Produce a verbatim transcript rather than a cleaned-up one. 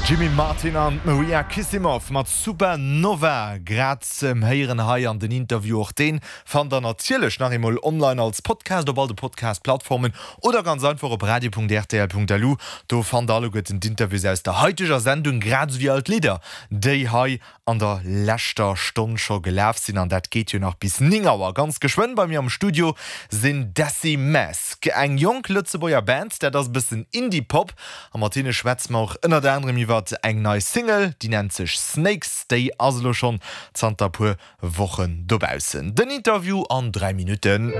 Jimmy Martin an Maria Kissimoff mat Supernova grad ze héieren hei an den Interview och deen fannt der natierlech nach eemol online als Podcast op all de Podcast-Plattformen oder ganz einfach op radio.rtl.lu. Do fannt der alleguerten d'Interviews aus der haiteger Sendung grad esou wéi all d'Lidder déi hei an der leschter Stonn scho gelaf sinn an dat geet jo nach bis néng Auer. Ganz geschwënn bei mir am Studio sinn Desi Mask, eng jonk Lëtzebuerger Band, dat ass e bëssen Indie-Pop a mat hinne schwätze mer och ënnert anerem iwwert eng nei Single, déi nennt sech Snakes, déi ass elo schonn zanter puer Wochen dobaussen. Den Interview an dräi Minutten.